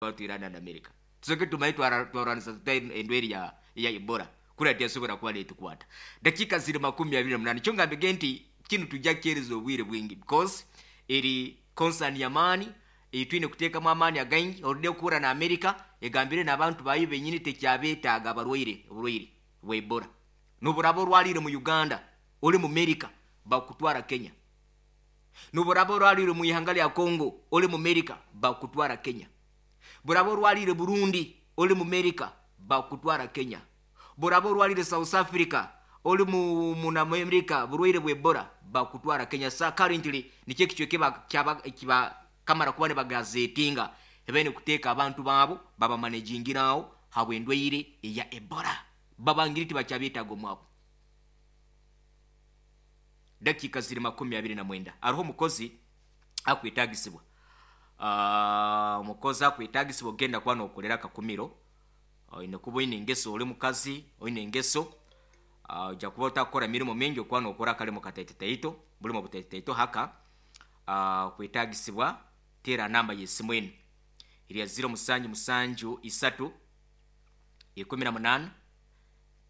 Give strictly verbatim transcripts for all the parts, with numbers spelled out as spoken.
Watu Iran and America tusoke tumaye twarwanisa tuta endweri ya ya Ebola kura tesobora kuba netukwata. Dakika ziri makumi abiri na munana. Kyo nti kinu tujja kyereza obwire bwingi because eri concern y'amaani eitwine kuteekamu amaani againgi. Orudde okuhura na America egambire n'abantu bayo benyini tekyabeetaaga abarwaire oburwaire bwa Ebola. Noburaba orwalire mu Uganda, ori mu America, bakutwara Kenya. Noburaba orwalire mu ihanga lya Congo, ori mu America, bakutwara Kenya. Buraba orwalire Burundi, ori mu America, bakutwara Kenya. Buraba orwalire South Africa, ori mu muna mu America, burwaire bwa Ebola, bakutwara Kenya. Sa currently nikyo ekicweka kyaba kiba kamara kuba nibagazetinga ebene kuteeka abantu baabo babamanejingiraho habw'endwaire eya Ebola, babangiri tibakyabeetaaga omwabo. Dakika ziri makumi abiri na mwenda. Hariho omukozi akwetagisibwa, omukozi akwetagisibwa ogenda kuba nokolera akakumiro. Oine kuba oine engeso, ori mukazi oine engeso, ojja kuba otakukora mirimo mingi, okuba nokora akalimo kataito, bulimo butaitotaito haka. Kwetagisibwa, teera namba y'esimu enu erya ziro musanju musanju isatu ikumi na munaana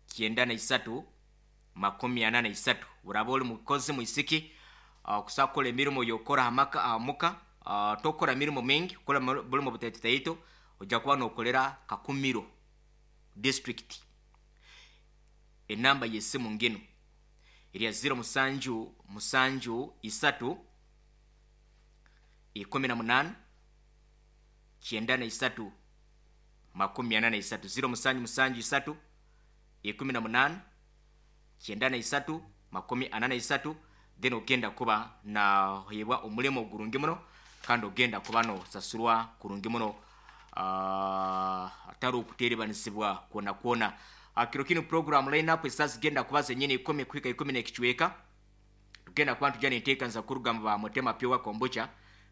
kyenda na isatu makumi ana na isatu. Buraba ori mukozi mwisiki okusobola kukora emirimo yokora hamaka ahamuka, tokukora mirimo mingi, kukora bulimo butaitotaito, ojja kuba nokolera Kakumiro District. Enamba y'esimu ngino erya ziro musanju musanju isatu ikumi na munaana kyenda na isatu makumi ana na isatu, ziro musanju musanju isatu ikumi na munaana kyenda na isatu makumi ana na isatu. Then ogenda kuba naheebwa omulimo gurungi muno kandi ogenda kuba nosasurwa kurungi muno, atari okuterebanisibwa kwona kwona. Kiro kinu program lineup esaa zigenda kuba zenyini ikumi kuhika ikumi n'ekicweka, tugenda kuba ntujya nenteekaniza kuruga mu ba Mutema Pure Kombucha,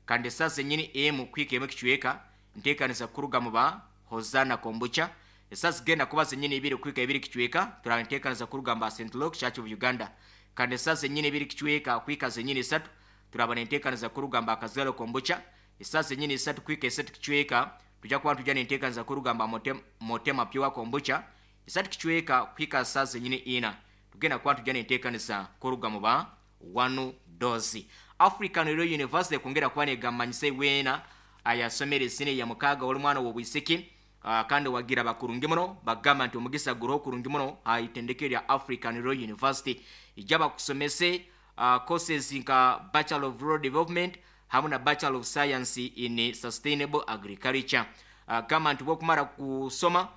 kandi esaa zenyini emu kuhika emu ekicweka nteekaniza kuruga mu ba Hosana Kombucha. Esaa zigenda kuba zenyini ibiri kuhika ibiri kicweka turaba nteekaniza kuruga mu ba Saint Luke Church of Uganda, kandi esaa zenyini ibiri kicweka kuhika zenyini isatu turaba nenteekaniza kuruga mu ba Kazaro Kombucha. Esaa zenyini isatu kuhika esatu kicweka tujja kuba tujja nenteekaniza kuruga mu ba Motema Pure Kombucha. Isatu kicweka kuhika saa zenyini ina tugenda kuba tujja nenteekaniza kuruga mu ba One Dose. African Royal University kwongera kuba negamanyisa iweena ayasomera esine ya mukaaga, oli mwana w'obwisiki uh, kandi wagira bakurungi muno, bagamba nti omugisa guroho kurungi muno ha itendekero lya African Royal University. Ijja bakusomese uh, courses nka Bachelor of Rural Development hamu na Bachelor of Science in Sustainable Agriculture. uh, gamba nti bwokumara kusoma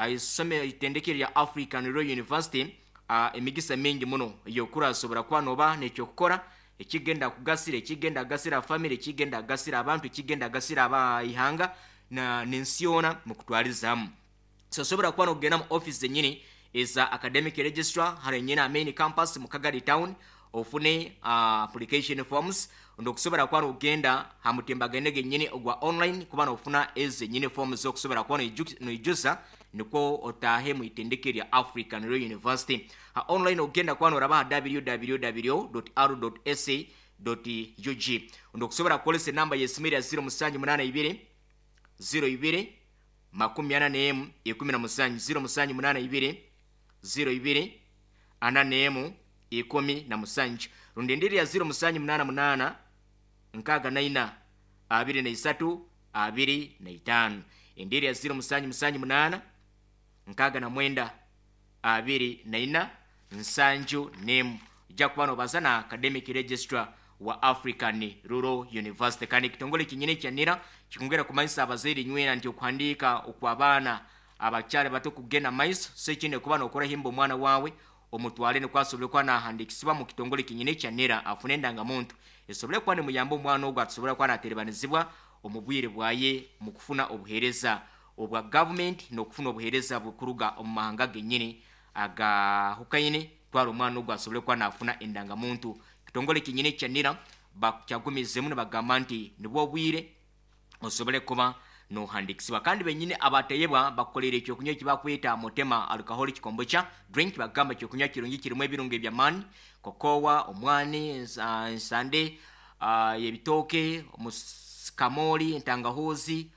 isomero itendekero lya African Royal University, uh, emigisa mingi muno yokurasobora kuba noba nekyokukora ekigenda kugasira, ekigenda kugasira family, ekigenda kugasira abantu, ekigenda kugasira abaihanga na nensi yoona mukutwalizamu. So osobora kuba nokugenda mu office zenyini eza academic registrar hano nyina main campus mu Kagadi Town ofune uh, application forms. Ndokusobora kuba nokugenda ha mutimbagano genyini ogwa online kuba nofuna ezenyini forms zokusobora kuba noijuza nikwo otahe mu itendeke lya African Royal University. Ha online ogenda kuba noraba ha w w w dot r dot s a dot u g. Ndokusobora kukolesa enamba y'esimu erya ziro musanju munaana ibiri ziro ibiri makumi ana n'emu ikumi na musanju, ziro musanju munaana ibiri ziro ibiri ana n'emu ikumi na musanju, rundi endiri ya ziro musanju munaana munaana nkaaga na ina abiri na isatu abiri na itaano, endiri ya ziro musanju musanju munaana nkaaga na mwenda abiri na ina nsanju n'emu. Ojja kuba nobaza na academic registrar wa African Rural University. Kandi ekitongole kinyine kyanira kikongera kumanyisa abazaire nywena nti okuhandiika okw'abaana abakyali bato kugenda maiso. So ekindi kuba nokora himba omwana wawe omutwale nikwo asobole kuba nahandikisibwa mu kitongole kinyine kyanira, afune endangamuntu esobole kuba nimuyamba omwana ogwo atusobole kuba naterebanizibwa omu bwire bwaye mu kufuna obuheereza obwa gavumenti n'okufuna obuheereza bukuruga omu mahanga genyini agahukaine. Twara omwana ogwo asobole kuba nafuna endangamuntu. Kitongole kinyine kyanira bakyagumizemu nibagamba nti nibwo obwire osobole kuba nohandikisibwa. Kandi benyini abateyebwa bakukolera ekyokunywa ekibakweta Mutema Alcoholic Kombucha Drink. Bagamba ekyokunywa kirungi, kirimu ebirungo ebyamaani, kokowa, omwani, ensande uh, ebitooke, kamoli, entangahuzi,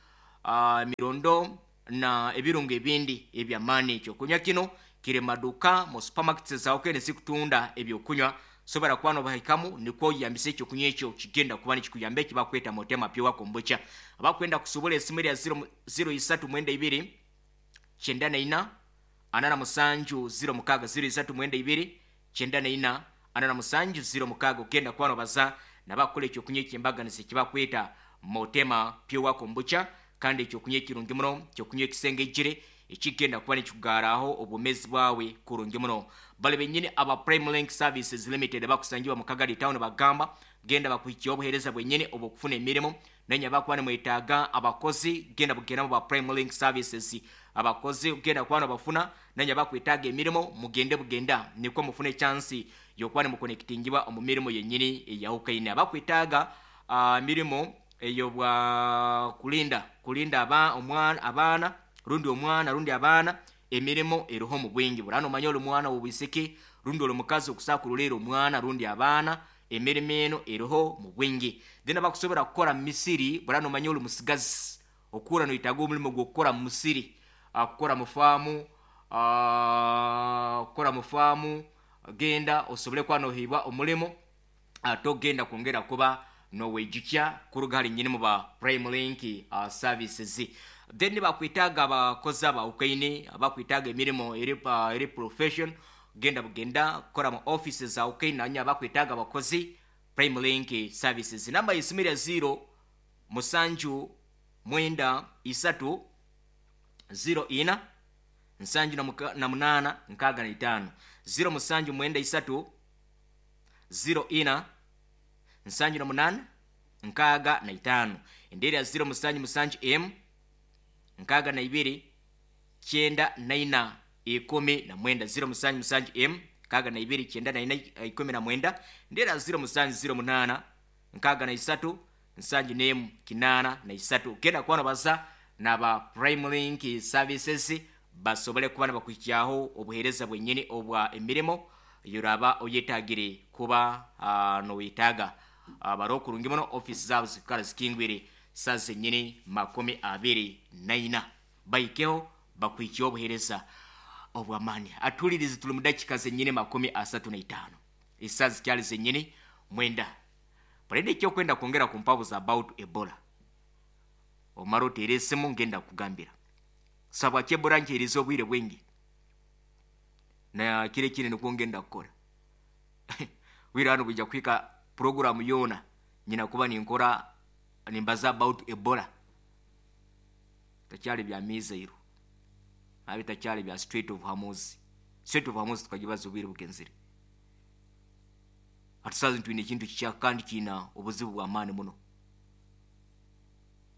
uh, mirondo na ebirungo ebindi ebyamaani. Ekyokunywa kino kiri maduka mu supermarkets zawe zikutunda ebyokunywa, sobora kuba nobahikamu nikwo oyambisa ekyokunywa ekyo kigenda kuba nikikuyamba ekibakweta Motema Pure Kombucha. Abakwenda kusobola esimu erya zero isatu mwenda ibiri kyenda na ina ana na musanju zero mukaaga, zero isatu mwenda ibiri kyenda na ina ana na musanju zero mukaaga, ogenda kuba nobaza nabakukola ekyokunywa ekyembaganiza ekibakweta Motema Pure Kombucha. Kandi ekyokunywa ekirungi muno, ekyokunywa ekisengejire ekigenda kuba nikikugaraho obwomezi bwawe kurungi muno. Bali benyini aba Prime Link Services Limited bakusangibwa mu Kagadi Town bagamba genda bakuhikia obuhereza bwenyini obwokufuna emirimu, nenya bakuba nimwetaaga abakozi genda bugenda mu ba Prime Link Services abakozi genda kuba nobafuna, nenya bakwetaaga emirimu mugende bugenda nikwo mufune chance yokuba nimukonectingibwa omu mirimu yenyini eyahukaine. Abakwetaaga uh, mirimu eyo bwa kulinda kulinda aba omwana abaana rundi omwana rundi abaana, emirimu eriho mu bwingi. Burano omanya oli mwana w'obwisiki rundi oli mukazi okusakululira omwana rundi abaana, emirimu eno eriho mu bwingi. Then abakusobora kukora mu misiri, burano omanya oli musigazi okura noyetaaga omulimu gw'okukora mu musiri, kukora mu faamu, kukora mu faamu, genda osobole kuba nohibwa omulimu ate ogenda kwongera kuba noweijukya kuruga hali nyini mu ba Prime Link uh, Services. Then bakwetaaga abakozi abawukaine abakwetaaga emirimu eri, uh, eri profession, genda bugenda kukora mu offices zawukaine nanya abakwetaaga abakozi Prime Link Services. Namba y'esimu erya zero musanju mwenda isatu zero ina nsanju na munaana nkaaga na itaano, zero musanju mwenda isatu zero ina nsanju na munaana nkaaga na itaano. Endeera ya zero musanju musanju m nkaaga na ibiri kyenda na ina ikumi na mwenda, zero musanju musanju m nkaaga na ibiri kyenda na ina ikumi na mwenda. Endeera ya zero musanju zero munaana nkaaga na isatu nsanju n'emu kinaana na isatu. Genda kuba nobaza naba Prime Link Services basobole kuba nibakuhikyaho obuheereza bwenyini obwa emirimo yoraba oyetagire kuba uh, noyetaaga. Uh, bari okurungi muno, office zaabo zikara zikingwire saa zenyini makumi abiri na ina, bahikeho bakuhikyaho obuheereza obw'amaani. Atulirize tuli mu dakika zenyini makumi asatu na itaano, esaa zikyali zenyini mwenda. Parede ekyokwenda kwongera kumpabuza about Ebola, omara oteere esimu ngenda kugambira sabwaki Ebola nkyerize obwire bwingi na kire kine nikwo ngenda kukora. Wira hano bwija kuhika programu yoona nyina kuba ninkora nimbaza about Ebola. Takyali bya mizairo abi takyali bya Strait of Hormuz. Strait of Hormuz tukagibaza obwire bugenzire. Atusazi ntwine ekintu kikya kandi kiina obuzibu bw'amaani muno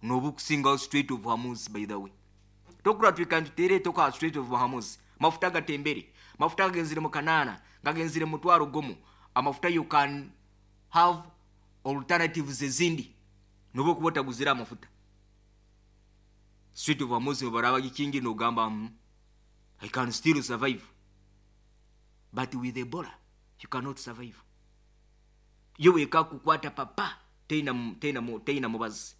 nobukusingaho Strait of Hormuz. By the way, tokura twikantutere toka Strait of Hormuz, mafuta gatembere, mafuta gagenzire mu kanaana gagenzire mu mutwaro gumu. Amafuta you can have alternatives ezindi noba okuba otaguzire amafuta. Strait of Hormuz baraba gikingi nogamba mm, I can still survive, but with Ebola you cannot survive. Yo weka kukwata papa teina teina teina mubazi.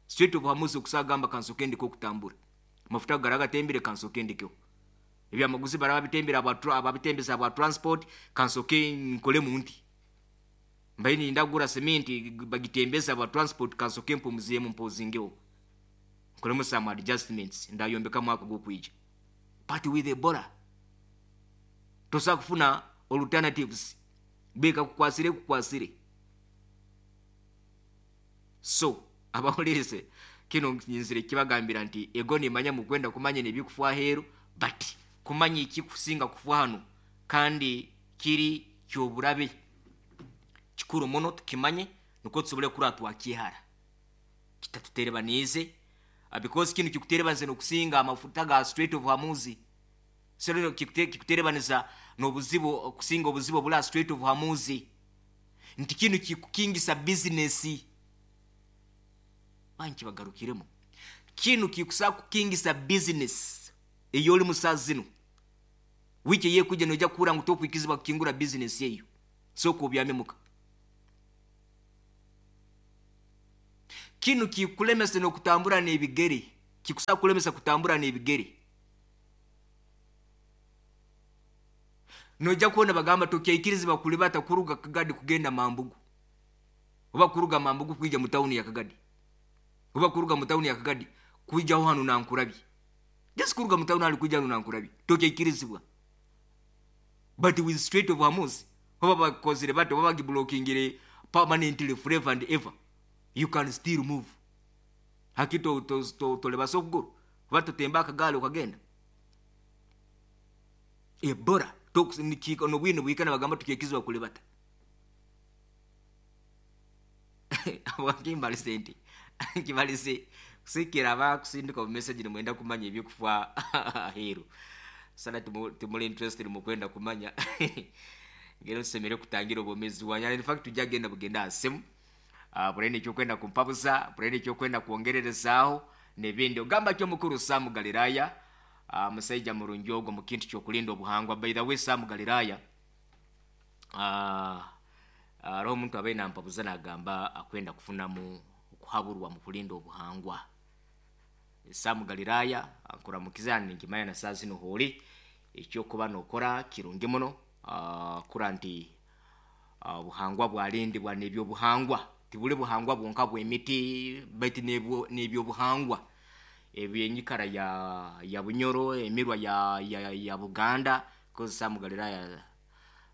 Strait of Hormuz okusagamba kansoke ndiko okutambura, mafuta garaga tembere kansoke ndiko ebyamaguzi baraba bitembera ababitembeza aba transport kansoke nkole munti mbaini ndagura cement bagitembeza aba transport kansoke mpumuziyemu mpozingeho nkolemu some adjustments ndayombeka mwaka gwokwija. But with Ebola tosa kufuna alternatives, beka kukwasire kukwasire. So abawulirize kino nyinzire kibagambira nti ego nimanya mukwenda kumanya nebikufa aheeru, but kumanya ekikusinga kufa hano kandi kiri kyoburabe kikuru muno tukimanye nikwo tusobole kura twakihara kitatuterebanize, because kino kikuterebaniza nokusinga amafuta ga Strait of Hormuz. So kikuterebaniza nobuzibu okusinga obuzibu obula Strait of Hormuz, nti kino kikukingisa business banki bagarukiremu. Kino kikusa kukingisa business eyoli musazi zino wiki yekujja noja kura ngu tokwikizibwa kukingura business eyo soko obyamemuka. Kinu kikulemesa n'okutambura n'ebigere, kikusa kulemesa kutambura n'ebigere. Nojja kubona bagamba tokyaikiriza kulibata kuruga Kagadi kugenda Mambugu, oba kuruga Mambugu kwija mu tawuni ya Kagadi, oba kuruga mu tawuni ya Kagadi kwija hano Nankurabye. Just kuruga mu tawuni ali kwija hano Nankurabye, tokyaikirizibwa. But with Strait of Hormuz, oba bakozire bato, oba bagiblokingire permanently forever and ever, you can still move. Haki to to to tolebasa okuguru, oba totemba akagaali okagenda. Ebola tokusinikika nobwino bwikana bagamba tukyekizibwa kulibata. Abakimbalise nti nkibalise kusikira abakusindika omu message nimwenda kumanya ebyokufa aheeru. Sana timuli interested mu kwenda kumanya. Ngero nsemere kutangira obwomezi bwanyu. In fact tujja genda bugenda asemu. Uh, bulene ekyokwenda kumpabuza, bulene ekyokwenda kwongererezaaho n'ebindi. Ogamba ki omukuru Sam Galilaya, uh, musajja murungi ogwo mu kintu ky'okulinda obuhangwa. By the way, Sam Galilaya, uh, hariho omuntu abaire nampabuza nagamba akwenda kufunamu okuhaburwa mu kulinda obuhangwa. Sam Galilaya ankuramukiza ninkimanya na saa zino hooli ekyokuba nokora kirungi muno, uh, kura nti obuhangwa uh, bwalindibwa n'ebyobuhangwa. Tibuli buhangwa bwonka bw'emiti baitu n'ebyobuhangwa ebyenyikara ya ya Bunyoro, emirwa ya ya, ya Buganda. Kozi Sam Galilaya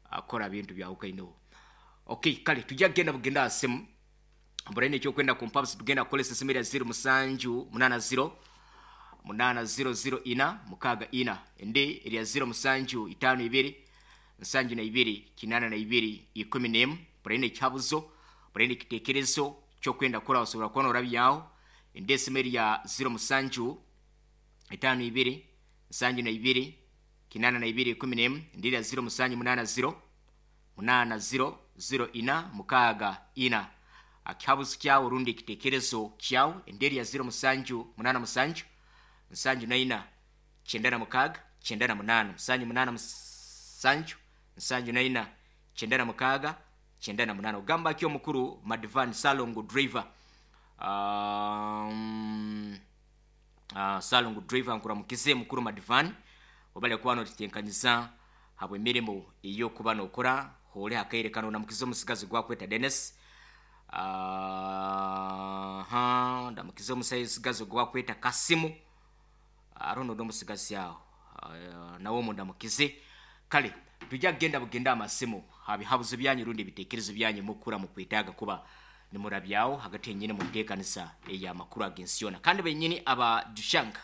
akora bintu byawukaineho. Okay, kale tujja kugenda bugenda asimu burene ekyokwenda kumpabusa. Tugenda kukolesa esimu erya zero musanju munana zero munana zero zero ina mukaaga ina, endi erya zero musanju itaano ibiri nsanju na ibiri kinana na ibiri ikumi n'emu. Burene ekihabuzo, burene ekiteekerezo kyokwenda kukora osobola kubona orabyaho. Endi esimu erya zero musanju itaano ibiri nsanju na ibiri kinana na ibiri ikumi n'emu, endi erya zero musanju munana zero munana zero zero ina mukaaga ina. Akihabuzo kyawe rundi ekiteekerezo kyawe, endi erya zero musanju munana musanju nsanju na ina kyenda na mukaaga kyenda na munaana, musanju munana musanju nsanju na ina kyenda na mukaaga kyenda na munaana. Ogamba ki omukuru Madvan Salongo driver? Um, uh, Salongo driver nkuramukize mukuru Madvan, obale kuba notitenkanyiza habwe emirimo eyokuba nokora hole hakaire kano. Namukize omusigazi gwakweta Dennis. Uh, ha ndamukize omusigazi gwakweta Kasimu, arono n'omusigazi aho, uh, nawe mundamukize. Kale tujja kugenda bugenda amasimu habihabuzo byanyu rundi ebiteekerezo byanyu mukura mukwetaaga kuba nimurabyaho hagati yenyini mu nteekanisa ey'amakuru ag'ensi yona. Kandi benyini aba Jushanga,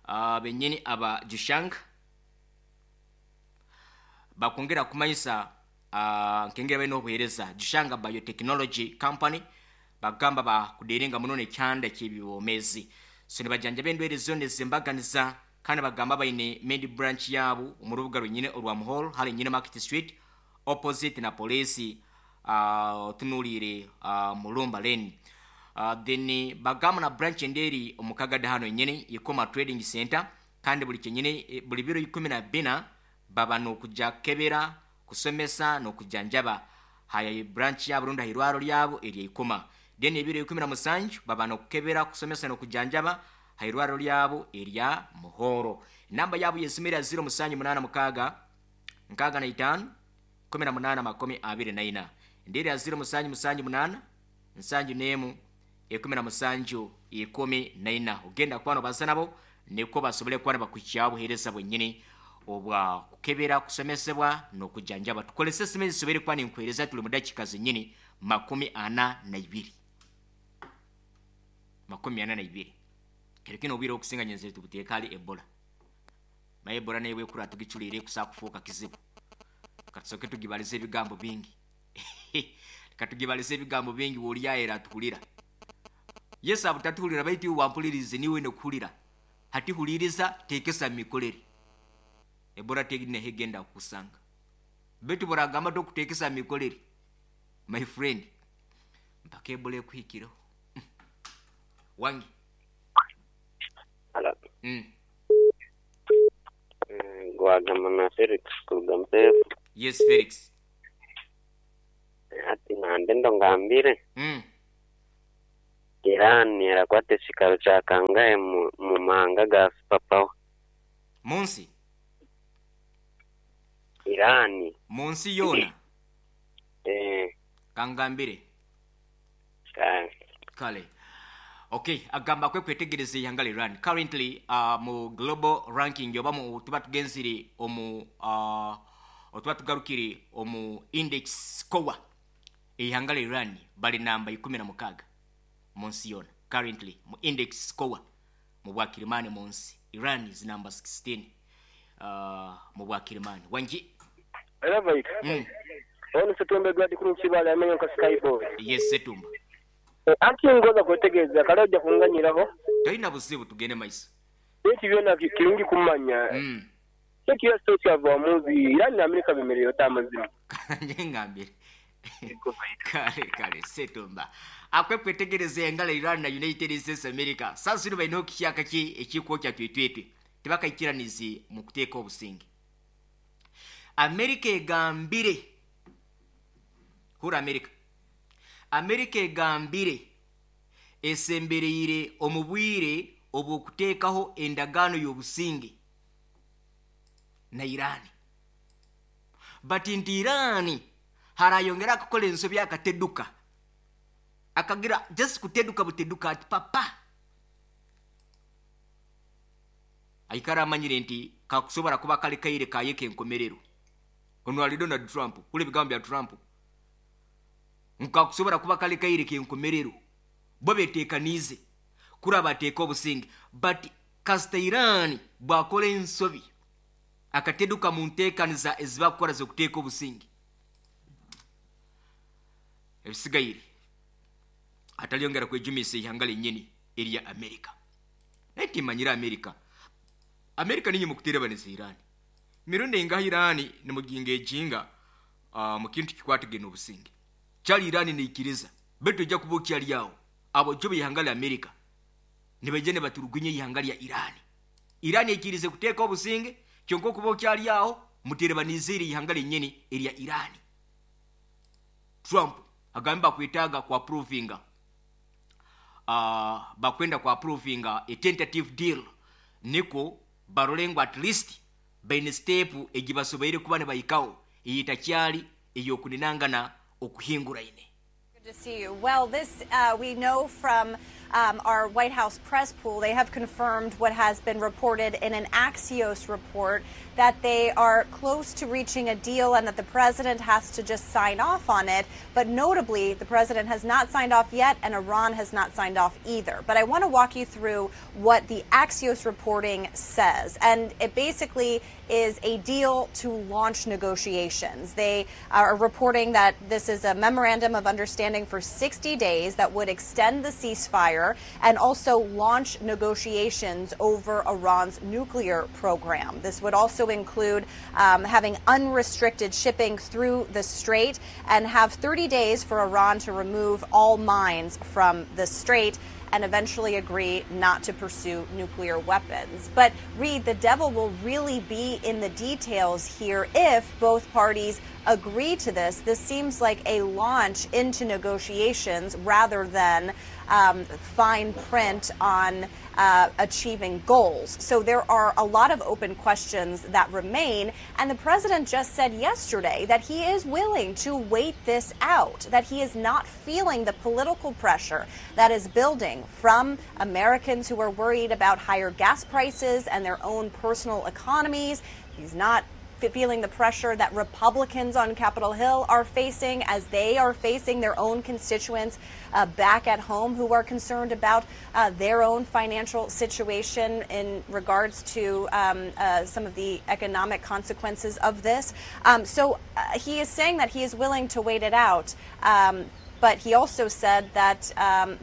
uh, benyini aba Jushanga bakwongera kumanyisa uh, nkengera balina obuheereza Jushanga Biotechnology Company bagamba bakudeeringa muno n'ekyanda ky'ebibomezi. So nibajanjaba endwaire zona ezembaganiza, kandi bagamba baine main branch yaabo omu rubuga rwenyine orwa Muhoro hali nyine Market Street opposite na polisi, uh, otunuliire uh, Mulumba Lane. Uh, then bagamba na branch enderi omu Kagadi hano nyine Ikoma Trading Center, kandi buli kyenyine buli biro ikumi na bina baba n'okujja kukebera, kusomesa n'okujanjaba haya branch yabo rundi ahirwaro lyabo erya Ikoma. Then ebiro ikumi na musanju baba n'okukebera, kusomesa n'okujanjaba hairwaro lyabo erya Muhoro. Namba yabo yesimira zero musanju munana mukaaga nkaaga na itaano kumi na munaana makumi abiri na ina, enderi ya zero musanju musanju munaana nsanju n'emu ikumi na musanju ikumi na ina. Ogenda kuba nobaza nabo nikwo basobole kuba nibakuhikyaho obuheereza bwenyini obwa kukebera, kusomesebwa n'okujanjaba. Tukolese esimu ezisobere kuba ninkuheereza, tuli mu dakiika zenyini makumi ana na ibiri, makumi ana na ibiri. Kero kino obwire okusinga nyenze tubuteeka hali Ebola. Maye Ebola nayo bwekura tugiculiire kusa kufuuka kizibu. Katusoke tugibalize ebigambo bingi. Katugibalize ebigambo bingi w'olyaera atuhulira. Yesu abutatuhulira baitu wampulirize niwe nokuhulira. Hati huliriza teekesa mikolere. Ebola tegine hegenda kukusanga. Baitu boragamba tokuteekesa mikolere. My friend, mpaka Ebola ekuhikireho. Wangi. Hello. Mm. Gwagamba na Felix kuruga Mpefu. Yes, Felix. Ati nande ndo ngambire Mm. Iran erakwata ekikaro kya kangahe mu, mu mahanga ga superpower? Munsi Iran. Munsi yoona. Eh, kangambire. Kale. Kale, okay, agamba kwe kwetegereza ihanga lya Iran currently uh, mu global ranking oba mu tuba tugenzire omu uh, otuba tugarukire omu index score, ihanga lya Iran bali namba ikumi na mukaga munsi yona currently mu index score mu bwakirimani munsi. Iran is number sixteen uh, mu bwakirimani wangi. Elevate. mm. Ono Setumba Edward kuri Kibale amenye nka Skyboy. Yes, Setumba. Anti ngoza kwetegereza kale ojja kunganyiraho. Tolina buzibu, tugende maiso. Eki byona ki- kirungi kumanya. mm. Eki yose kyava muzi Iran na Amerika bemerera tamazima. Nje ngambire kale kale Setumba akwe kwetegereza engala Iran na United States America sasiri balina okukyaka ki ekikwokya twetwetwe tebakaikiranizi mu kuteeka obusinge. America egambire hura America America egambire esembereire omu bwire obw'okuteekaho endagaano y'obusinge na Iran, but nti Iran harayongera akakola ensobi akateduka akagira just kuteduka buteduka ati papa aikara amanyire nti kakusobora kuba kali kaire kayeke enkomerero. Ono ali Donald Trump kule bigambo bya Trump nkakusobora kuba kali kaire kenkomerero bo beteekanize kuri bateeka obusinge, but kasita Iran bwakola ensobi akateduka mu nteekaniza ezibakukora z'okuteeka obusinge ebisigaire atalyongera kwejumisa ihanga lennyini erya Amerika. Naye timanyire Amerika Amerika ninye mukuterebanisa Iran mirundi engaha Iran nimuginga ejinga uh, mu kintu kikwatagene obusinge kyali Iran neikiriza betu ojja kuba okyali awo abo jo beihanga lya Amerika nibaija nibaturugunya ihanga lya Iran. Iran ekirize kuteeka obusinge kyonka okuba okyali awo muterebanize eri ihanga lennyini erya Iran. Trump agambe bakwetaaga ku approvinga uh, bakwenda ku approvinga a tentative deal niko barole ngu at least baine step egibasoboire kuba nibayikaho eyitakyali ey'okuninangana okuhinguraine. Good to see you. Well, this uh, we know from um, our White House press pool. They have confirmed what has been reported in an Axios report that they are close to reaching a deal and that the president has to just sign off on it. But notably, the president has not signed off yet, and Iran has not signed off either. But I want to walk you through what the Axios reporting says. And it basically is a deal to launch negotiations. They are reporting that this is a memorandum of understanding for sixty days that would extend the ceasefire and also launch negotiations over Iran's nuclear program. This would also include um, having unrestricted shipping through the strait and have thirty days for Iran to remove all mines from the strait and eventually agree not to pursue nuclear weapons. But Reed, the devil will really be in the details here if both parties agree to this. This seems like a launch into negotiations rather than um, fine print on uh, achieving goals. So there are a lot of open questions that remain. And the president just said yesterday that he is willing to wait this out, that he is not feeling the political pressure that is building from Americans who are worried about higher gas prices and their own personal economies. He's not feeling the pressure that Republicans on Capitol Hill are facing as they are facing their own constituents uh, back at home who are concerned about uh, their own financial situation in regards to um, uh, some of the economic consequences of this. Um, so uh, he is saying that he is willing to wait it out. Um, But he also said that um,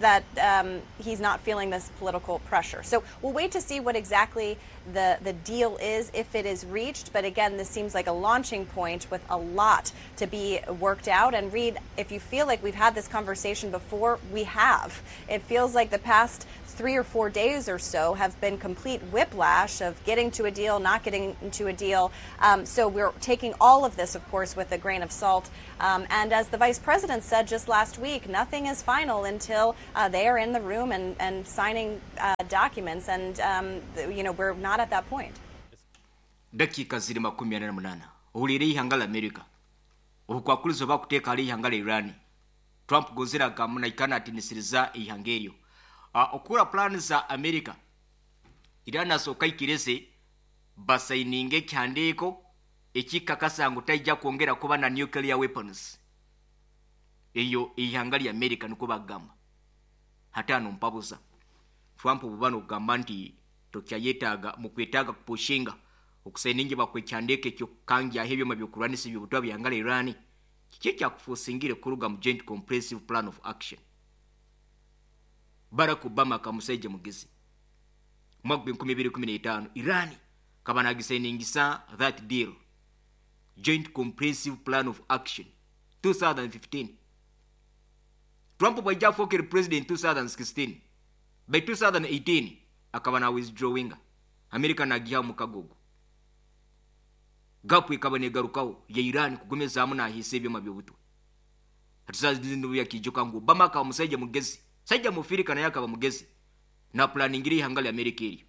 that um, he's not feeling this political pressure. So we'll wait to see what exactly the, the deal is, if it is reached. But again, this seems like a launching point with a lot to be worked out. And Reed, if you feel like we've had this conversation before, we have. It feels like the past three or four days or so have been complete whiplash of getting to a deal, not getting to a deal. Um, so we're taking all of this, of course, with a grain of salt. Um, and as the vice president said just last week, nothing is final until uh, they are in the room and, and signing uh, documents. And, um, you know, we're not at that point. Dakiika ziri makumi ana na munaana. Ohuliire eihanga la Amerika obukwakurizo bakuteeka hali eihanga la Iran. Trump gozera agamba naikana atinisiriza eihanga eryo. Uh, okura plan za Amerika, Iran asooka aikirize basayininge ekihandiiko ekikakasa ngu taija kwongera kuba na nuclear weapons. Eyo eihanga lya Amerika nikwo bagamba. Hataano mpabuza Trump obuba nokugamba nti tokyayetaaga mukwetaaga kupushinga okusayininga bakwekihandiiko ekyokukangyaho ebyoma byokurwanisa ebyobutwa byanga la Iran. Kiki ekyakufuusingire kuruga mu Joint Comprehensive Plan of Action? Barack Obama akamusaija mugezi. Mwaka gw'enkumi ibiri ikumi n'etaano Iran kaba nagisayiningisa that deal, Joint Comprehensive Plan of Action twenty fifteen. Trump bwaija afookere president twenty sixteen, by twenty eighteen akaba na withdrawinga America nagiha mukago ogwo. Gapu ekaba negarukaho ya Iran kugumizaamu nahiisa ebyoma by'obutwa. Hati ngu Obama akaba musaija mugezi, saija mufirika naye akaba mugezi, na planingira eihanga lya Amerika eryo.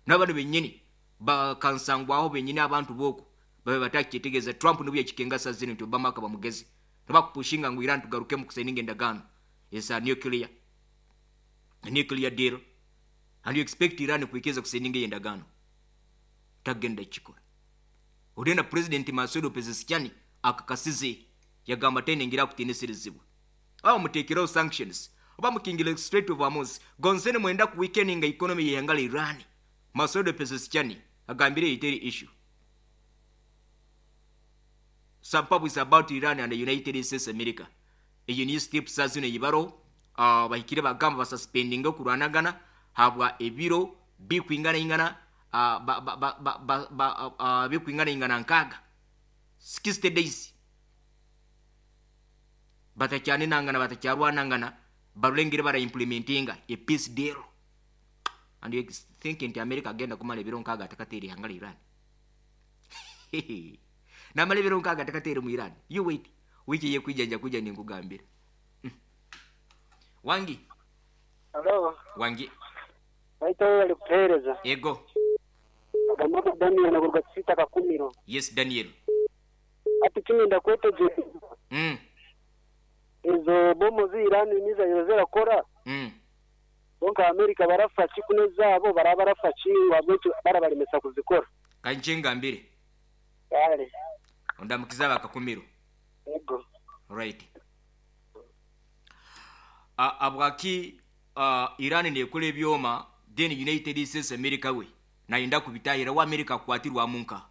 N'abantu benyini bakansangwaho benyini abantu booko babe batakyetegereza. Trump nibwo yakikenga zino nti Obama akaba mugezi. Nibakupushinga ngu Iran tugarukemu kusayininga endagaano eza nuclear, nuclear deal, and you expect Iran kwikiriza kusayininga eyo endagaano. Tagenda kikora. Odena President Masoud Pezeshkian akakasize yagamba tenengira kutinisirizibwa. Aho muteekeraho sanctions oba mukingire Strait of Hormuz gonzene mwenda ku weakening economy y'ihanga la Iran. Masoud Pezeshkian agambire iteri issue. Some is about Iran and the United States America. Eyo ni steps zino yibaro uh, bahikire bagamba basuspendinga okurwanagana habwa ebiro bikwingana ingana uh, ba, ba, ba, ba, ba, ba, uh, bikwingana ingana nkaga sixty days batakyane nangana batakyarwanangana barulengere bara implementinga a peace deal. And you think nti America agenda kumala ebiro nkaga atakateera ihanga la Iran. Namala ebiro nkaga atakateera mu Iran. You wait. Wiki yekwijanja kuja ninkugambira. Mm. Wangi. Hello. Wangi. Baita wewe alikuhereza. Ego. Agamba Daniel na kuruga sita kakumiro. Yes, Daniel. Ati kimi ndakweteje. Mm. Ezo bomo zi Iran niza yozera kora. Mm. Bonka Amerika barafa kikune zabo barabarafa chingwa bwetu barabalemesa kuzikora. Kanjenga mbire. Kale. Ondamukiza bakakumiro. Ego. Right. Uh, abwaki uh, Iran nekole ebyoma then United States America we nayenda kubitahira wa America kwatirwa munka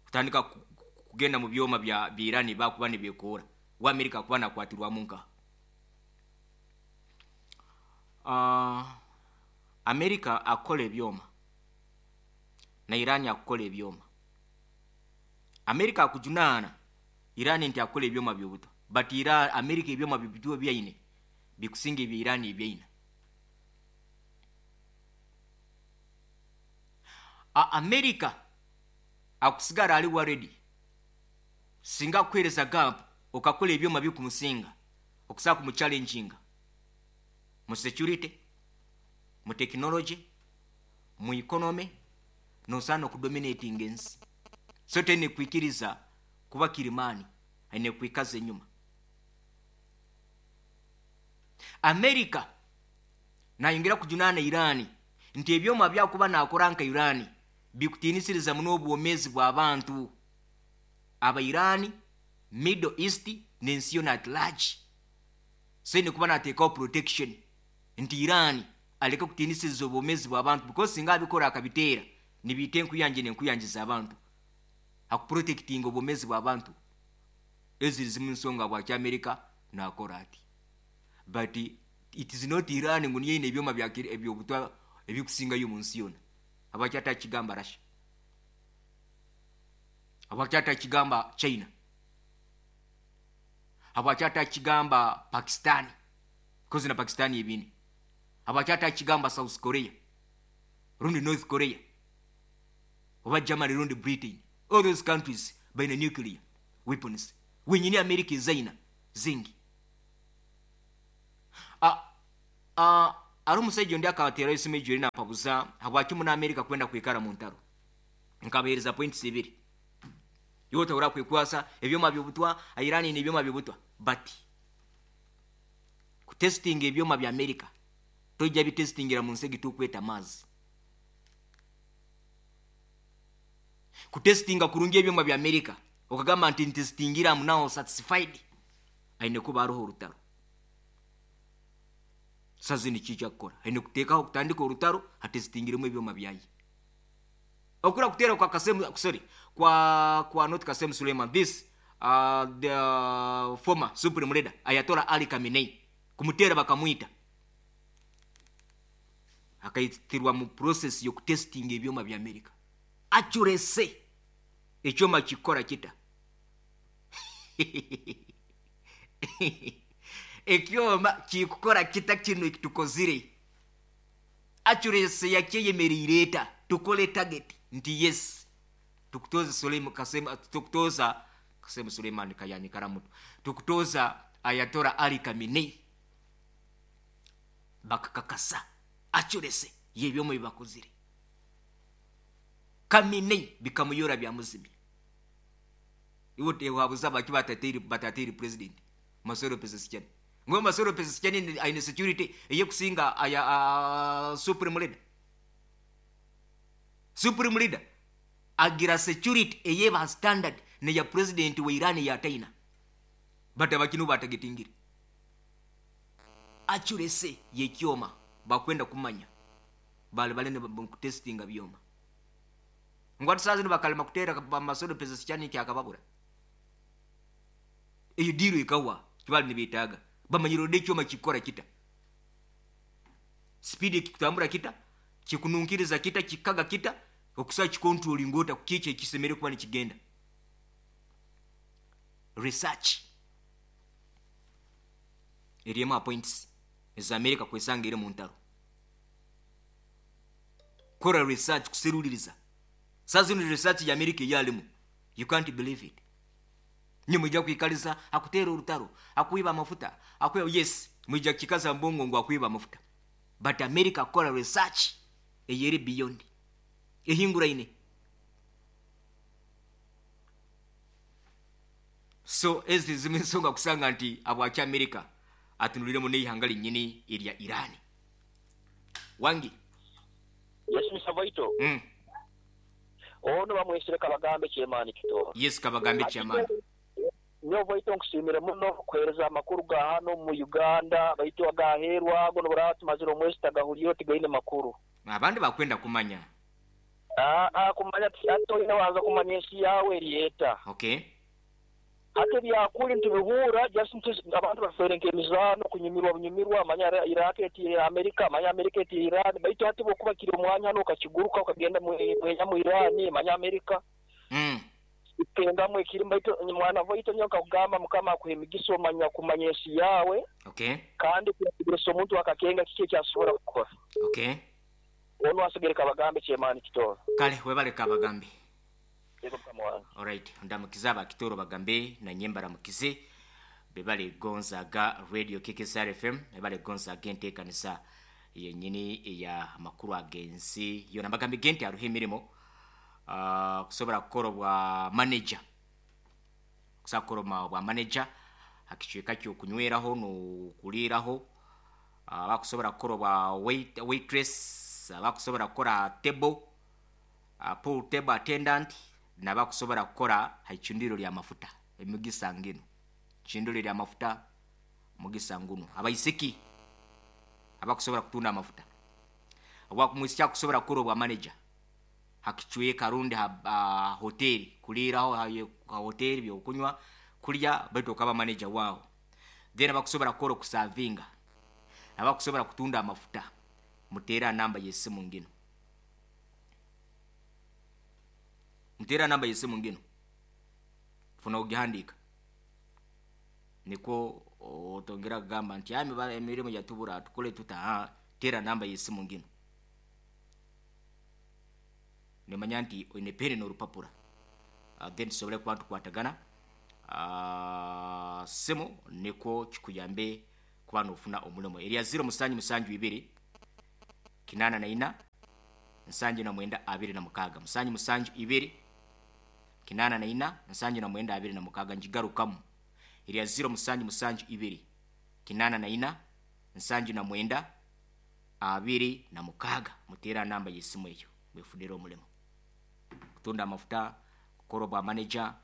kutandika kugenda mu byoma bya Iran bakuba nibekora wa America kuba nakwatirwa munka. Uh, America akole ebyoma na Iran akole ebyoma. America akujunana Iran nti akole ebyoma byobuto, but Iran America ebyoma bibituo byaine bikusinga ebya Iran ebyaina. A America akusigara ali worried singa kwereza gap okakola ebyoma bikumusinga okusaka mu challenginga mu security, mu technology, mu economy, nosana okudominating ensi. So tene kwikiriza kuba kirimani aine kwikaza enyuma. America nayongera kujunana Iran nti ebyoma byakuba nakora nka Iran bikutinisiriza muno obwomezi bw'abantu aba Iran, Middle East n'ensi yona at large. So ne kuba nateekawo protection nti Iran aleke kutinisiriza obwomezi bw'abantu because singa abikora akabiteera nibiita enkuyanje n'enkuyanjiza abantu akuprotectinga obwomezi bw'abantu. Eziri zimu nsonga bwaki America nakora ati, but it is not Iran ngu niyo ebyoma bya ebyobutwa ebikusingayo mu nsi yona. Abaki atakigamba Russia, abaki atakigamba China, abaki atakigamba Pakistan, kozi na Pakistan ebini, Abakyata kigamba South Korea rundi North Korea oba Germany rundi Britain, all those countries baina nuclear weapons. Wenyini America ezaina zingi. Ah, ah, ari omusajja ondi akabateerayo esimu ejweri nampabuza habwaki muna America kwenda kwikara mu ntaro. Nkabahereza points ibiri. Iwe otahura kwekwasa ebyoma byobutwa, Iran ni ebyoma byobutwa, but kutestinga ebyoma bya America tojja bitestingira mu nsi egitukweta amaazi. Kutestinga kurungi ebyoma bya America okagamba nti ntestingira am now satisfied, aine kuba hariho orutaro. Sazi ni kijja kukora aine kuteekaho kutandika orutaro atestingiremu ebyoma byaye. Okura kutera kwa Kasem, sorry, kwa kwa not Kasem Suleiman, this uh, the uh, former supreme leader Ayatollah Ali Khamenei, kumutera bakamwita akaitirwa mu process yo kutesting ebyoma bya America. Accuracy ekyoma kikora kita ekyoma kikukora kita kino ekitukozire. Accuracy yakyeyemereire tukole target nti yes tukutoza Suleiman Kasem, tukutoza Kasem Suleiman Kayani Karamutu, tukutoza Ayatollah Ali Khamenei, bakakakasa accuracy yebyomo bibakozire. Khamenei bikamuyora bya muzimya. Iwo tewabuza baki batatiri batatiri president Masoro Pezeshkian. Ngo Masoro Pezeshkian aine security eye kusinga aya uh, supreme leader. Supreme leader agira security eyeba standard ne ya president wa Iran ya China. Bata bakinu batagetingire. Accuracy yekyoma bakwenda kumanya bale bale ne testinga byoma. Ngwatu sazi bakalema kutera Masoro Pezeshkian kyakababura. Eyo diro ikawa kibali nibitaga bamanyiro de kyoma kikora kita speed kikutambura kita kikununkiriza kita kikaga kita okusa kikontrol ngota kukiche kisemere kuba nikigenda. Research eriema points za America kwesanga ere mu ntaro. Kora research kuseruliriza. Sazi ni research ya America yalimu, you can't believe it. Nimujja kwikaliza akutera orutaro akuiba amafuta akuiba, yes mujja kikaza mbongo ngo akuiba amafuta, but America kora research eyeri beyond ehingura ine. So ezi zimensonga kusanga nti abwaki America atunuliremu n'eihanga linyini erya Iran. Wangi Yes Mister Voito. Mm. Ono bamwesire Kabagambe Chairman Kitoro. Yes Kabagambe Chairman. Nyo Voito nkusimire muno kuhereza amakuru ga hano mu Uganda baitu agaherwa gono buratu maziro mwezi tagahuliyo tigaine makuru. Abandi bakwenda kumanya. Ah ah kumanya ato ina waanza kumanya ensi yawe erieta. Okay. Ate byakuli ntibihura just abantu baferenke emizano kunyumirwa bunyumirwa manya Iraq eti America manya America eti Iran baitu ati bokuba kiri omwanya hano ukakiguruka ukagenda mwenya mu Iran manya America. Mm. Ipengamwe kiri baitu mwana Voito nyoka kugamba mukama akuhemigiso manya kumanya ensi yawe. Okay. Kandi kugira omuntu akakenga kiki kyasobola kukora. Okay. Ono asigere Kabagambe Chairman Kitoro. Kale webale Kabagambe. Alright, ndamukiza abakitoro bagambe na nyembara mukize bebale gonzaga radio K K S R F M bebale gonzaga enteekanisa yenyini eya makuru agensi yona bagambe gente aruhe emirimo uh, kusobola kukola bwa manager kusakora bwa manager akicweka kyokunyweraho n'okuliiraho uh, bakusobola kukola bwa wait, waitress abakusobola kukola table uh, pool table attendant nabakusobola kukola haicundiro lya mafuta emigisa ngino chindiro lya mafuta mugisa nguno abaisiki abakusobola kutunda amafuta abakumwisya kusobola kukola bwa manager hakichweka rundi ha uh, hoteli kuliraho ha, ha hoteli byokunywa kulya baitu okaba manager wao. Then abakusobola kukola kusavinga abakusobola kutunda amafuta mutera namba yesimu ngino mutera namba yesimu ngino funa ugihandika niko otongera kugamba nti ami emirimu yatubura tukole tuta Tera namba y'esimu ngino. Nimanya nti oine peni n'orupapura. Uh, then tusobole kuba tukwatagana. Uh, simu niko kikuyambe kuba nofuna omulimu. Erya zero musanju musanju ibiri kinana na ina nsanju na mwenda abiri na mukaga. Musanju musanju ibiri kinana na ina nsanju na mwenda abiri na mukaga. Njigarukamu. Erya zero musanju musanju ibiri kinana na ina nsanju na mwenda abiri na mukaga. Mutera namba y'esimu eyo mwefunire omulimu. Kutunda amafuta, kukora bwa manager,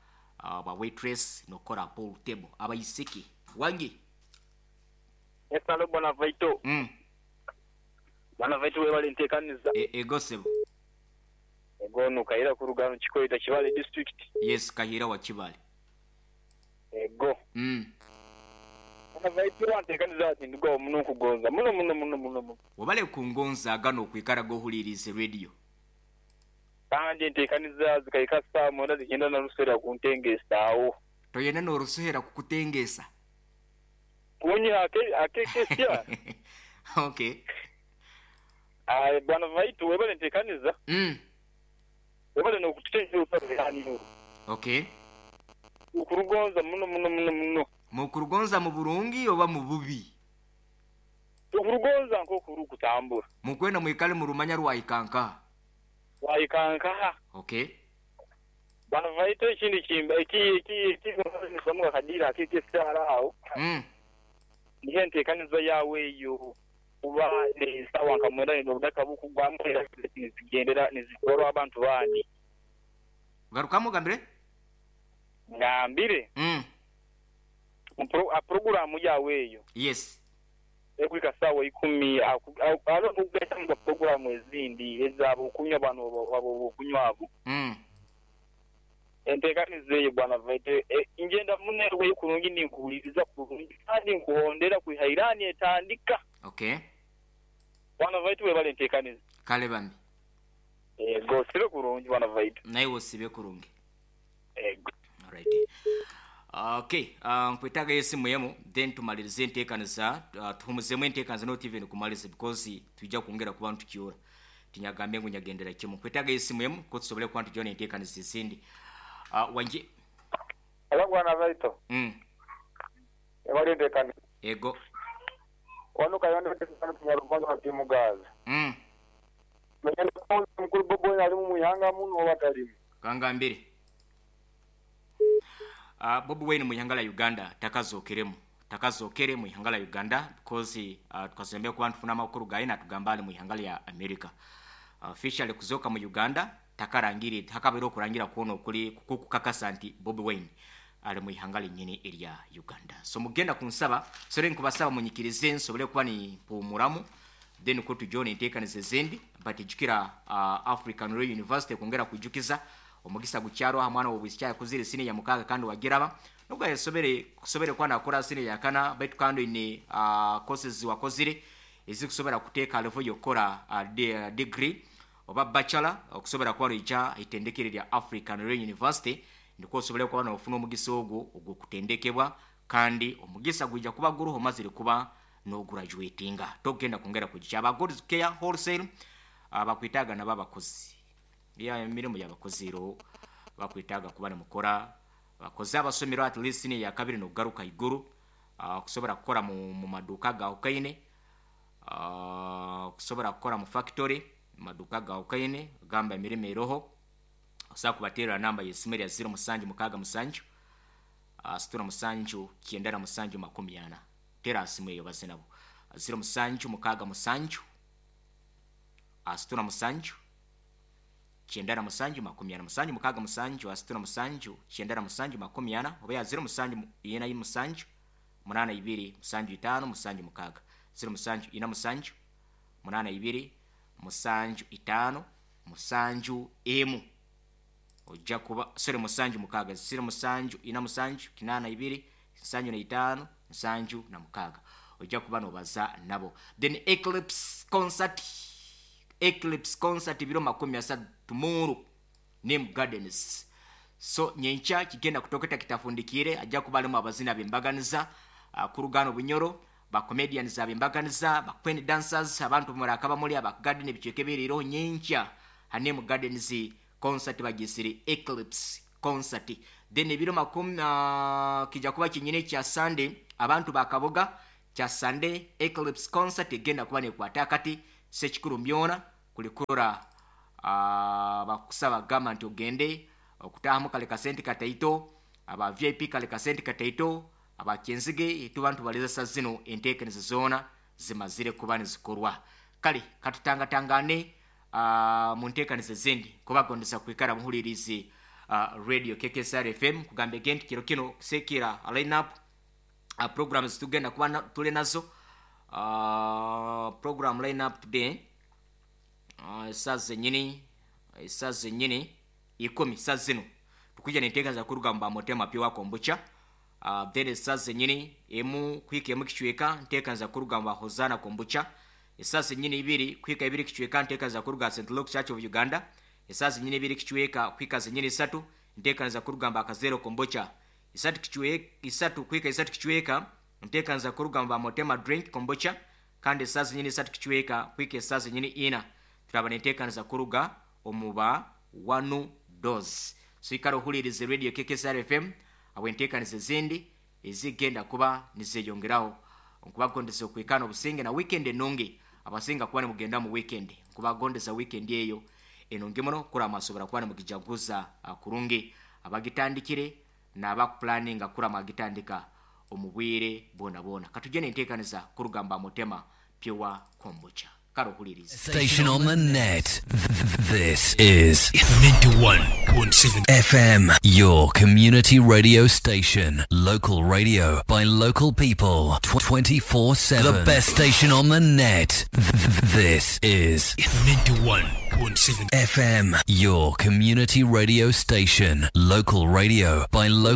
uh, bwa waitress nokora pool table. Abayisiki wangi Esalo bwana Vaito. Mm. Bwana Vaito we bali ntekaniza. E, ego sebo. Ego no Kahira kurugano Chikoita Kibale district. Yes, Kahira wa Kibale. Ego. Mm. Bwana Vaito wantekaniza ati ndugo muno kugonza. Muno muno muno muno. Wabale kungonza gano kwikara gohulirize radio. Kandi ntekaniza zikaika saa mwenda zigenda na rusera kuntengesa awo. Toyena no rusuhera kukutengesa. Kunyi ake ake kesya. Okay. Ah, bwana Vaito webale ntekaniza. Mm. Webale no kutenja uparani. Okay. Ukurugonza muno muno muno muno. Mukurugonza mu burungi oba mu bubi? Ukurugonza nko kurukutambura. Mukwenda mwikale mu rumanya rwayikanka. Wayikanka. Okay. Bwana Vaito ikindi kimba iki iki iki samuka kadira akikesara awo. Mm. Nihe ntekaniza yawe yo kuba nesawa nkamwenda nobudaka bukugwamu nizigendera nizikorwa abantu bandi. Garukamu gambire? Ngambire. Mm. Pro, a programu yawe yo. Yes. Ekwika sawa ikumi alo kugesa mu programu ezindi ezabo kunywa abantu abo kunywa abo. Mm. Entekanize bwana Vaito e, ingenda munerwe kurungi ninkuuliriza kurungi kandi nkuhondera kuhairani etandika. Okay. Bwana Vaito we bale ntekanize. Kale bambi. Ego sibe kurungi bwana Vaito. Naye wosibe kurungi. Ego. All right. Okay, uh, nkwetaga esimu yemu then tumalirize enteekaniza, uh, tuhumuzemu enteekaniza not even kumaliriza because tujja kwongera kuba ntukiora. Tinyagambe ngu nyagendera kimu. Nkwetaga esimu yemu ko tusobole kuba ntujona enteekaniza ezindi. Uh, wanje Alo bwana Vaito. Mm. Ebali ntekaniza. Ego. Wano kayonde tunyarugonza batimugaza. Mm. Mwenye mukuru bobo ali mu muhanga muno obatalimu. Kangambire. Uh, Bobi Wine mu ihanga la Uganda takazokeremu takazokere mu ihanga la Uganda because uh, tukazembea kuba ntufuna amakuru gaye natugamba ali mu ihanga lya America. Uh, officially kuzoka mu Uganda takarangire takabera okurangira kuona okuli kukakasa nti Bobi Wine ali mu ihanga linyini erya Uganda. So mugenda kunsaba sore nkubasaba munyikirize nsobole kuba ni pumuramu then ko tujone enteekaniza ezindi but jukira uh, African Royal University kwongera kujukiza omugisa gukyaro ha mwana wobwisya kuzire sine ya mukaga kandi wagiraba nubwo yasobere kusobere kwa nakora sine yakana baitu kandi ni uh, courses wakozire ezikusobera kuteeka level yokora uh, de, degree oba bachelor okusobera kwa rija itendekere lya African Royal University ndiko osobere kwa nofuna omugisa ogwo ogwo kutendekebwa kandi omugisa gwijja kuba guruho mazire kuba no graduatinga togenda kongera kujja aba God's Care Wholesale abakwitaga uh, nababakozi ya emirimu y'abakozi ro bakwitaga kuba mukora bakoze abasomero at least ni ya kabiri no garuka iguru uh, kusobora kukora mu, mu maduka ga ukaine uh, kusobora kukora mu factory maduka ga ukaine gamba emirimo eroho osa kubatera namba y'esimu ya zero musanju mukaga musanju uh, situra musanju kienda na musanju makumi ana tera simu eyo baze nabo zero musanju mukaga musanju uh, situra musanju kyenda na musanju makumi ana musanju mukaga musanju asituna musanju kyenda na musanju makumi ana oba ya zero musanju ina musanju munana ibiri musanju itano musanju mukaga zero musanju ina musanju munana ibiri musanju itano musanju emu ojja kuba sorry musanju mukaga zero musanju ina musanju kinana ibiri musanju na itano musanju na mukaga ojja kuba nobaza nabo. Then Eclipse concert Eclipse concert biro makumi asatu tomorrow Name Gardens. So nyenkya kigenda kutoketa kitafundikire ajja kuba alimu abazina bembaganiza uh, kurugano bunyoro Ba comedians abembaganiza, ba queen dancers, abantu murakaba muri aba garden ebicweka ebiriireho nyenkya Hanem Gardens concert bagisire Eclipse concert. Then ebiro makumi uh, kijja kuba kinyine kya Sunday, abantu bakaboga kya Sunday Eclipse concert egenda kuba nekwata akati sekikuru mbyona kulikurora uh, bakusaba gamba nti ogende okutahamu kale kasente kataito, aba V I P kale kasente kataito, abakenzige etubantu baleza sa zino enteekanizo zoona zimazire kuba nizikorwa. Kale katutangatangane uh, mu nteekanizo ezindi kubagondesa kwikara muhulirizi uh, radio K K S R F M kugambe gente kiro kino kusekera line up uh, programs tugenda kuba na, tule nazo uh, program line up today uh, saa zenyini saa zenyini ikumi saa zino tukuja nenteekaniza kurugamba motema pyo wakombucha. Uh, then saa zenyini emu kwika emu kichweka nteekaniza kurugamba Hosana kombucha. Saa zenyini ibiri kwika ibiri kichweka nteekaniza kuruga Saint Luke Church of Uganda. Saa zenyini ibiri kichweka kwika zenyini isatu nteekaniza kurugamba Kazero kombucha. Isatu kichweka isatu kwika isatu kichweka nteekaniza kurugamba Motema drink kombucha. Kandi saa zenyini isatu kichweka kwika saa zenyini ina turaba nteekaniza kuruga omuba wanu dose. So ikaro hulirize radio K K S R F M awenteekaniza ezindi ezigenda kuba nizeyongeraho nkubagondesa okwikana obusinge na weekend enungi abasinga kuba nimugenda mu weekend nkubagondesa weekend eyo enungi muno kurama asobora kuba nimugijaguza kurungi abagitandikire n'abakuplaninga kurama agitandika omu bwire bwona bwona. Katujje nenteekaniza kurugamba Mutema Pure Kombucha. Station on the net. This is ninety-one point seven F M, your community radio station. Local radio by local people. twenty-four seven. The best station on the net. This is ninety-one point seven F M, your community radio station. Local radio by local